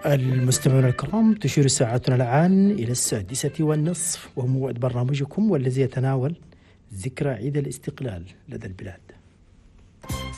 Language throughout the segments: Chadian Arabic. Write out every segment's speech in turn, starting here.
المستمعون الكرام، تشير ساعتنا الآن إلى 6:30، وهو موعد برنامجكم والذي يتناول ذكرى عيد الاستقلال لدى البلاد.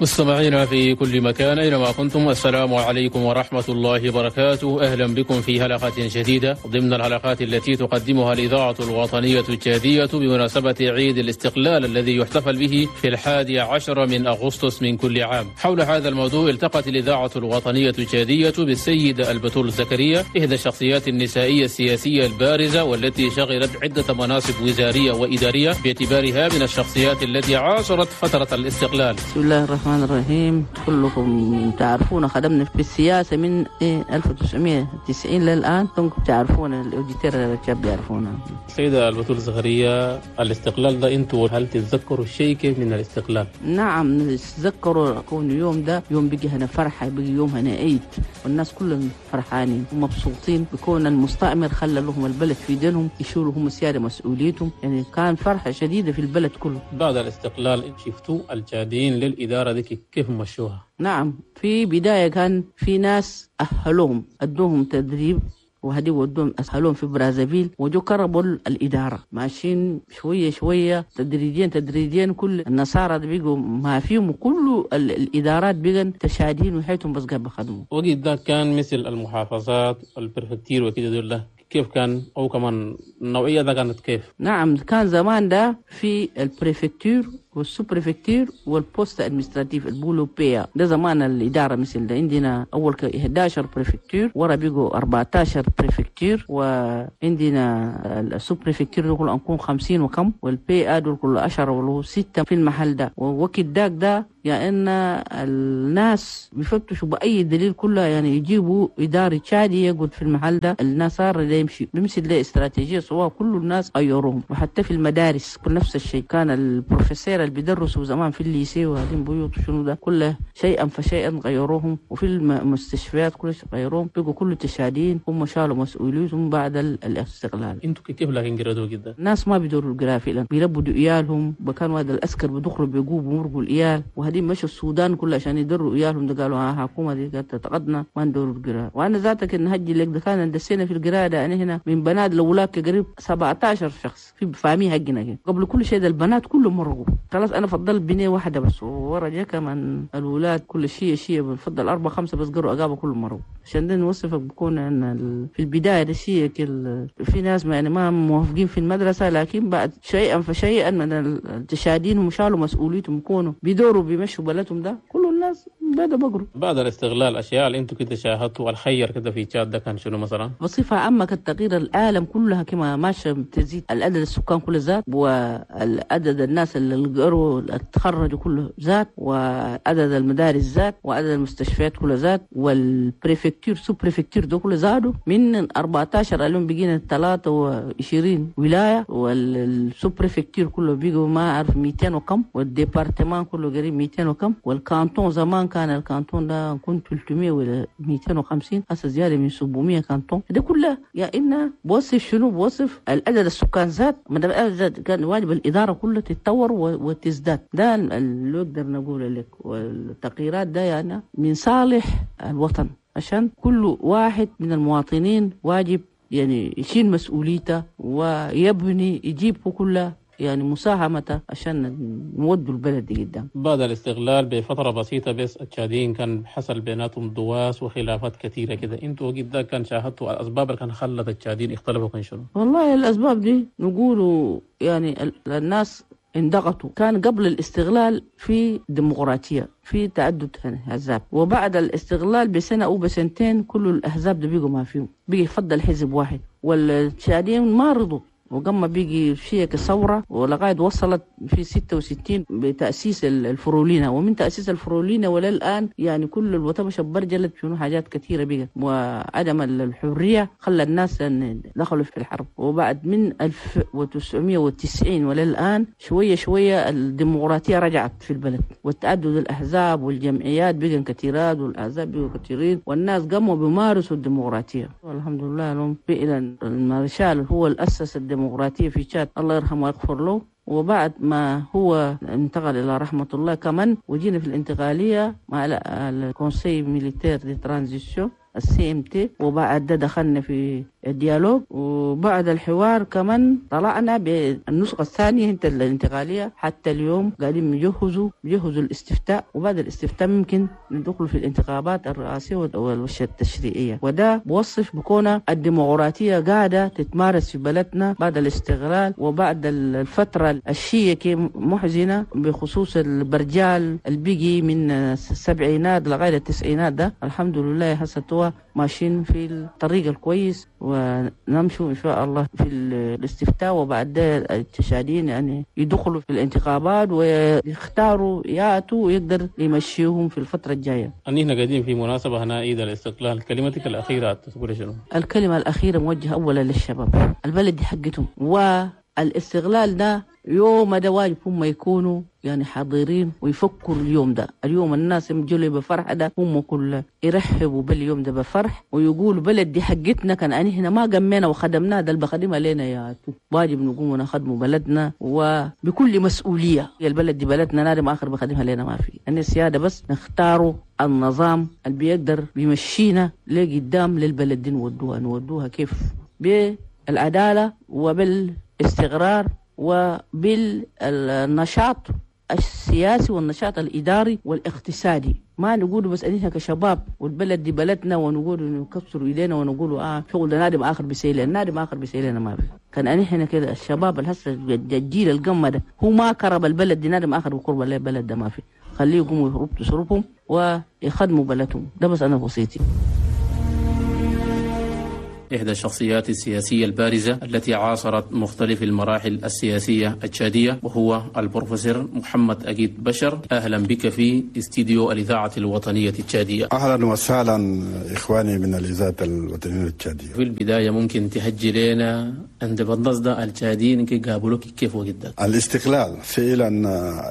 مستمعينا في كل مكان أينما كنتم، السلام عليكم ورحمة الله وبركاته. أهلا بكم في حلقة جديدة ضمن الحلقات التي تقدمها الإذاعة الوطنية التشادية بمناسبة عيد الاستقلال الذي يحتفل به في 11 من أغسطس من كل عام. حول هذا الموضوع التقت الإذاعة الوطنية التشادية بالسيدة البتول زكريا، إحدى الشخصيات النسائية السياسية البارزة والتي شغلت عدة مناصب وزارية وإدارية باعتبارها من الشخصيات التي عاصرت فترة الاستقلال. بسم الله الرحمن الرحيم. كلكم تعرفون خدمنا في السياسة من 1990 للآن، كلكم تعرفون ال auditeurs الشاب يعرفونا. سيدة البتول زكريا، الاستقلال ده انتوا هل تتذكروا شيء كيف من الاستقلال؟ نعم نتذكروا، كون يوم ده يوم بيجي هنا فرحة، بيجي يوم هنا عيد، والناس كلهم فرحانين ومبسوطين بكون المستعمر خلى لهم البلد في دينهم، يشيلوا هم سيادة مسؤوليتهم، يعني كان فرحة شديدة في البلد كله. بعد الاستقلال شفتوا التشاديين للإدارة دي كيف مشوها؟ نعم، في بداية كان في ناس أهلهم أدوهم تدريب وهدي ودوهم أهلهم في برازافيل وجو كربوا الإدارة، ماشيين شوية شوية تدريجيا تدريجيا، كل النصارى بيجوا ما فيهم وكل الإدارات بيجن تشادين وحيتهم بس قبل خدموا. وقت ده كان مثل المحافظات ال préfecture وكده دول كيف كان، أو كمان النوعية ده كانت كيف؟ نعم، كان زمان ده في ال préfecture وال sous-préfecture وال poste administratif البولو PA، ده زمان الإدارة مثل ده. عندنا أول 11 préfecture، ورا بيجوا 14 préfecture، وعندنا ال sous-préfecture دول أنكون 50 وكم، وال PA دول كل 10 ولا 6 في المحل ده. ووقت داك ده يعني أن الناس بيفتشوا بأي دليل كلها، يعني يجيبوا إدارة تشادي يقعد في المحل ده، النصارى ده يمشي بيمشي ده استراتيجية سواء كل الناس غيروهم. وحتى في المدارس كل نفس الشيء، كان البروفيسور اللي بيدرسوا زمان في ال lycée وهذين بيوت شنو ده كله شيئا فشيئا غيروهم، وفي المستشفيات كل شيء غيروهم، بقوا كل تشادين هم شالوا مسؤوليتهم بعد الاستقلال. انتوا كيف لكن قرأتوا كده؟ الناس ما بيدوروا القراءة فعلا، بيربوا عيالهم، بكانوا هذا الأسكر بدخلوا بيقوبوا ومرقوا العيال، وهذين مشوا السودان كله عشان يدروا عيالهم. ده قالوا ها حكومة دي قالت تقدنا ما ندوروا القراءة. وأنا ذاتك إن هجي لك ده كان دسينا في القراءة ده، أنا هنا من بنات لولاك قريب 17 شخص في فاهمين حقنا كده. قبل كل شيء ده البنات كلهم مرقوا خلاص، أنا فضلت بنية واحدة بس، ورا جا كمان الأولاد كل شيء بنفضل 4 5 بس قروا أقابة كلهم مرقوا. عشان ده نوصفك بكون أن في البداية ده شيء في ناس ما يعني ما موافقين في المدرسة، لكن بعد شيئا فشيئا من التشادين هم شالوا مسؤوليتهم، كونوا بيدوروا بيمشوا بلدهم ده كل الناس بدأوا بقروا. بعد الاستغلال الأشياء اللي أنتوا كده شاهدتوا الخير كده في تشاد ده كان شنو مثلا؟ بصفة عامة كالتغيير العالم كلها كما ماشى تزيد العدد السكان كله زاد، والعدد الناس اللي قروا تخرجوا كله زاد، وعدد المدارس زاد، وعدد المستشفيات كله زاد، وال préfecture sous-préfecture ده كله زادوا من 14 اليوم بقينا 23 ولاية، وال sous-préfecture كله بيجوا ما أعرف 200 وكم، وال département كله قريب 200 وكم، وال canton زمان كان ال canton ده كنت 300 ولا 250، هسه زيادة من 700 canton. ده كله يا إن بوصف شنو؟ بوصف العدد السكان زاد، ما دام العدد زاد كان واجب الإدارة كلها تتطور وتزداد. ده اللي نقدر نقول لك. والتغييرات ده يعني من صالح الوطن، عشان كل واحد من المواطنين واجب يعني يشيل مسؤوليته ويبني يجيب كله يعني مساهمته عشان نودوا البلد دي قدام. بعد الاستغلال بفترة بسيطة بس التشاديين كان حصل بيناتهم دواس وخلافات كثيرة كده، انتوا وقت ده كان شاهدتوا الأسباب اللي كان خلت التشاديين اختلفوا كان شنو؟ والله الأسباب دي نقولوا يعني الناس انضغطوا. كان قبل الاستغلال في ديمقراطية، في تعدد أحزاب، وبعد الاستغلال بسنة أو بسنتين كل الأحزاب ده بيجوا ما فيهم، بيجي يفضل حزب واحد، والتشاديين ما رضوا، وقام بيجي شيء كثورة، ولغاية وصلت في 66 بتأسيس الفرولينا، ومن تأسيس الفرولينا وللآن يعني كل الوطن برجلت شنو حاجات كثيرة بيجت، وعدم الحرية خلى الناس أن دخلوا في الحرب. وبعد من 1990 وللآن شوية شوية الديمقراطية رجعت في البلد، والتعدد الأحزاب والجمعيات بقى كثيرات، والأحزاب بقوا كثيرين، والناس قاموا بيمارسوا الديمقراطية. والحمد لله لهم فعلا المارشال هو اللي أسس الديمقراطية في تشاد، الله يرحمه ويغفر له. وبعد ما هو انتقل إلى رحمة الله كمان، وجينا في الانتقالية مع ال conseil militaire de transition، CMT، وبعد ده دخلنا في ال dialogue، وبعد الحوار كمان طلعنا بالنسخة الثانية الانتقالية. حتى اليوم قاعدين يجهزوا الاستفتاء، وبعد الاستفتاء ممكن ندخل في الانتخابات الرئاسية والتشريعية. وده بوصف بكون الديمقراطية قاعدة تتمارس في بلدنا بعد الاستقلال وبعد الفترة الشيء محزنة بخصوص البرجال البيجي من السبعينات لغاية التسعينات. ده الحمد لله هسه ماشيين في الطريق الكويس، ونمشوا إن شاء الله في الاستفتاء، وبعد ده التشاديين يعني يدخلوا في الانتخابات ويختاروا ياتوا ويقدر يمشيهم في الفترة الجاية. أننا قاعدين في مناسبة هنا عيد الاستقلال، كلمتك الأخيرة تقول شنو؟ الكلمة الأخيرة موجهة أولا للشباب، البلد دي حقتهم، والاستغلال ده يوم ده واجب هم يكونوا يعني حاضرين ويفكروا اليوم ده. اليوم الناس يجوا بفرح ده، هم كل يرحبوا باليوم ده بفرح ويقولوا بلد دي حقتنا، كان أنا ما قمينا وخدمناها، ده اللي بخدمها لنا يا تو. واجب نقوم ونخدموا بلدنا وبكل مسؤولية. يا البلد دي بلدنا، نادم آخر بخدمها لنا ما في. أن السيادة بس نختاروا النظام اللي بيقدر بيمشينا لقدام للبلد دي، نودوها كيف؟ بالعدالة وبالاستقرار وبالنشاط السياسي والنشاط الإداري والاقتصادي. ما نقول بس أننا كشباب والبلد دي بلدنا ونقول نكسر إيدينا ونقول شغل ده نادم آخر بيسيلنا، نادم آخر بيسيلنا ما في. كان أنحنا كده الشباب الهسه الجيل القمة ده هو ما كرب البلد دي، نادم آخر بقرب البلد ده ما في. خليه يقوموا يربطوا صروفهم ويخدموا بلدهم. ده بس أنا وصيتي. إحدى الشخصيات السياسية البارزة التي عاصرت مختلف المراحل السياسية التشادية، وهو البروفيسور محمد أجيد بشر. أهلا بك في استديو الإذاعة الوطنية التشادية. أهلا وسهلا إخواني من الإذاعة الوطنية التشادية. في البداية ممكن تهجي لنا عند بالنص التشاديين كي قابلوك كيف وجدت؟ الاستقلال فعلا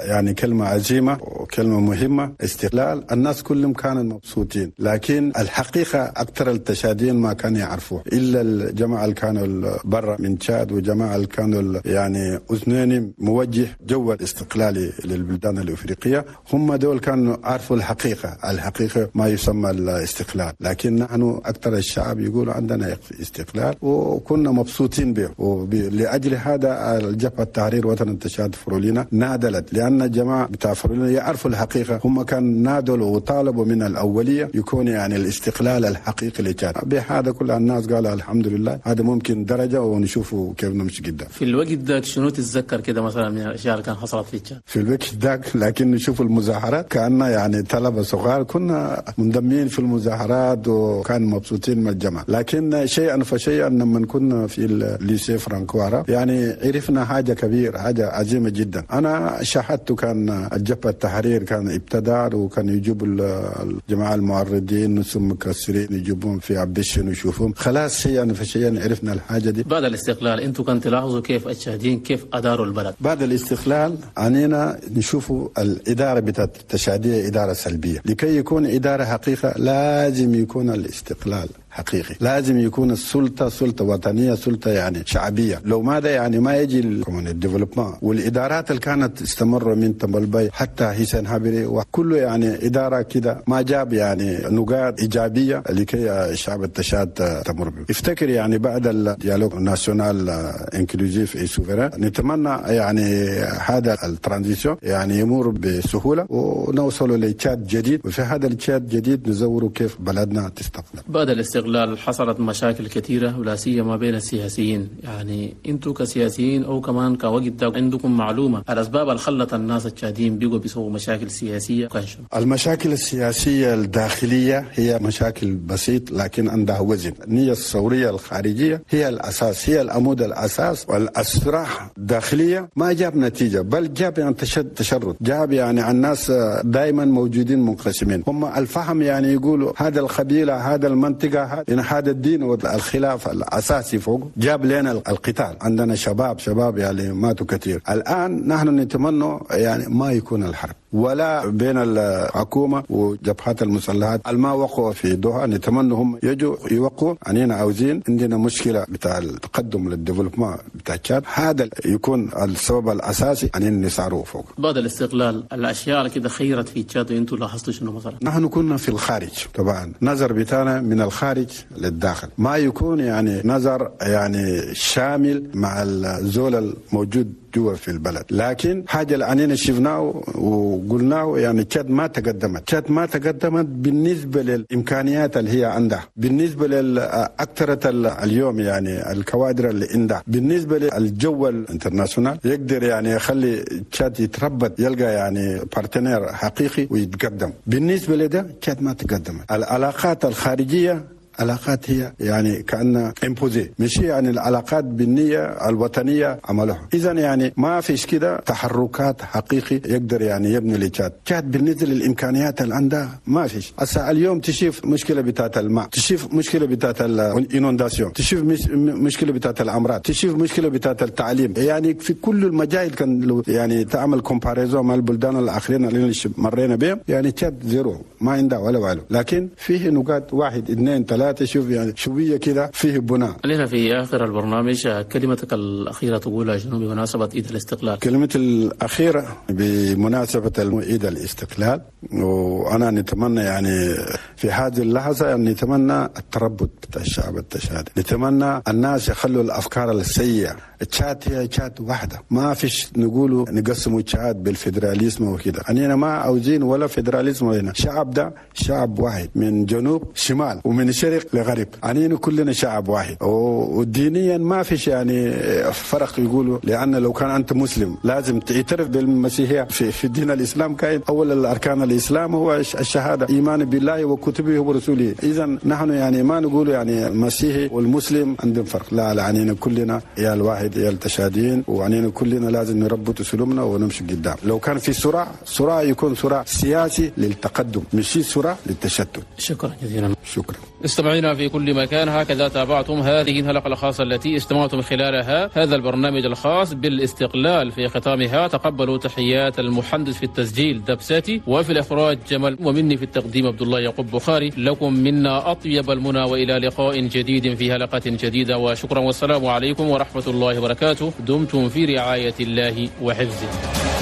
يعني كلمة عظيمة وكلمة مهمة. استقلال الناس كلهم كانوا مبسوطين، لكن الحقيقة أكثر التشاديين ما كانوا يعرفوه إلا الجماعة اللي كانوا برا من تشاد، وجماعة اللي كانوا يعني أثنين موجه جو الاستقلالي للبلدان الأفريقية، هم دول كانوا عرفوا الحقيقة، الحقيقة ما يسمى الاستقلال. لكن نحن أكثر الشعب يقول عندنا استقلال وكنا مبسوطين به، ولأجل هذا الجبهة التحرير وطن تشاد فرولينا نادلت، لأن الجماعة بتاع فرولينا يعرفوا الحقيقة، هم كان نادلوا وطالبوا من الأولية يكون يعني الاستقلال الحقيقي لتشاد. بهذا كل الناس قال الحمد لله هذا ممكن درجة ونشوفه كيف نمشي قدام. في الوقت ذاك شنو تتذكر كده مثلا من الأشياء اللي كان حصلت في تشاد؟ في الوقت ذاك لكن نشوف المظاهرات كأننا يعني طلبة صغار، كنا منضمين في المظاهرات وكان مبسوطين من الجماعة. لكن شيئا فشيئا لما كنا في ال lycée franco-arabe يعني عرفنا حاجة كبيرة، حاجة عظيمة جدا. أنا شاهدت كان الجبهة التحرير كان ابتدى، وكان يجيب الجماعة المعرضين ثم مكسرين يجيبون في عبدشن ويشوفهم خلاص. شيئا فشيئا عرفنا الحاجة دي. بعد الاستقلال انتم كنت تلاحظوا كيف التشاديين كيف أداروا البلد؟ بعد الاستقلال عنينا نشوفوا الإدارة بتاعت التشادية إدارة سلبية. لكي يكون إدارة حقيقة لازم يكون الاستقلال حقيقي، لازم يكون السلطة سلطة وطنية، سلطة يعني شعبية. لو ماذا يعني ما يجي ال développement والإدارات اللي كانت استمر من تمبلبي حتى حسين هابري وكله يعني إدارة كده ما جاب يعني نقاط إيجابية لكي الشعب التشاد تمر به. افتكر يعني بعد ال dialogue national inclusif et souverain نتمنى يعني هذا ال transition يعني يمر بسهولة ونوصل لتشاد جديد، وفي هذا التشاد الجديد نزوره كيف بلدنا تستقبل. بعد الاستقلال حصلت مشاكل كثيرة ولا سيما بين السياسيين، يعني انتم كسياسيين او كمان كوقت ده عندكم معلومة الاسباب اللي خلت الناس التشاديين بيقوا بيسووا مشاكل سياسية؟ كان شنو؟ المشاكل السياسية الداخلية هي مشاكل بسيط لكن عندها وزن. النية الثورية الخارجية هي الاساس، هي العمود الاساس، والاسراح الداخلية ما جاب نتيجة، بل جاب يعني تشرد، جاب يعني الناس دائما موجودين منقسمين. هم الفهم يعني يقولوا هذا القبيلة، هذا المنطقة، إن هذا الدين، والخلاف الأساسي فوق جاب لنا القتال. عندنا شباب يعني ماتوا كثير. الآن نحن نتمنى يعني ما يكون الحرب، ولا بين الحكومة وجبهات المسلحات الما وقعوا في دوحة. نتمنى هم يجوا يوقعوا. أننا عاوزين عندنا مشكلة بتاع التقدم لل développement بتاع تشاد، هذا يكون السبب الأساسي أننا نسعره فوق. بعد الاستقلال الأشياء كده خيرت في تشاد، وأنتم لاحظتوا شنو مثلا؟ نحن كنا في الخارج طبعا، نظر بتاعنا من الخارج للداخل ما يكون يعني نظر يعني شامل مع الزول الموجود جوا في البلد. لكن حاجة اللي أننا شفناه وقلناه يعني تشاد ما تقدمت، تشاد ما تقدمت بالنسبة للإمكانيات اللي هي عندها، بالنسبة لأكثرة اليوم يعني الكوادر اللي عندها، بالنسبة للجو ال international يقدر يعني يخلي تشاد يتربط، يلقى يعني partenaire حقيقي ويتقدم. بالنسبة لده تشاد ما تقدمت. العلاقات الخارجية علاقات هي يعني كأنها imposée، مش يعني العلاقات بالنية الوطنية عملوها. إذا يعني ما فيش كده تحركات حقيقي يقدر يعني يبني لتشاد. تشاد بالنسبة للإمكانيات اللي عندها ما فيش. هسه اليوم تشوف مشكلة بتاعت الماء، تشوف مشكلة بتاعت ال inondation، تشوف مشكلة بتاعت الأمراض، تشوف مشكلة بتاعت التعليم، يعني في كل المجال كان لو يعني تعمل comparaison مع البلدان الآخرين اللي مرينا بهم يعني تشاد zéro، ما عندها ولا والو. لكن فيه نقاط 1 2 3 شوف يعني شوية كده فيه بناء. علينا في آخر البرنامج كلمتك الأخيرة تقولها شنو بمناسبة عيد الاستقلال؟ كلمتي الأخيرة بمناسبة عيد الاستقلال، وأنا نتمنى يعني في هذه اللحظة يعني نتمنى التربط بتاع الشعب التشادي، نتمنى الناس يخلوا الأفكار السيئة. تشاد هي تشاد واحدة، ما فيش نقولوا نقسموا تشاد بال fédéralisme وكده، أننا ما عاوزين ولا fédéralisme هنا. شعب ده شعب واحد من جنوب شمال ومن شرق لغرب، أننا كلنا شعب واحد. ودينيا ما فيش يعني فرق يقولوا، لأن لو كان أنت مسلم لازم تعترف بالمسيحية. في دين الإسلام كاين أول الأركان الإسلام هو الشهادة، إيمان بالله وكتبه ورسوله. إذا نحن يعني ما نقول يعني المسيحي والمسلم عندهم فرق، لا، عنينا كلنا يا الواحد يا التشاديين، وعنينا كلنا لازم نربط سلومنا ونمشي قدام. لو كان في صراع يكون صراع سياسي للتقدم، مش صراع للتشتت. شكرا جزيلا. شكرا. استمعينا في كل مكان، هكذا تابعتم هذه الحلقة الخاصة التي استمعتم خلالها هذا البرنامج الخاص بالاستقلال. في ختامها تقبلوا تحيات المهندس في التسجيل دبساتي، وفي الإخراج جمال، ومني في التقديم عبد الله يعقوب بخاري. لكم منا أطيب المنى، وإلى لقاء جديد في حلقة جديدة، وشكرا والسلام عليكم ورحمة الله وبركاته. دمتم في رعاية الله وحفظه.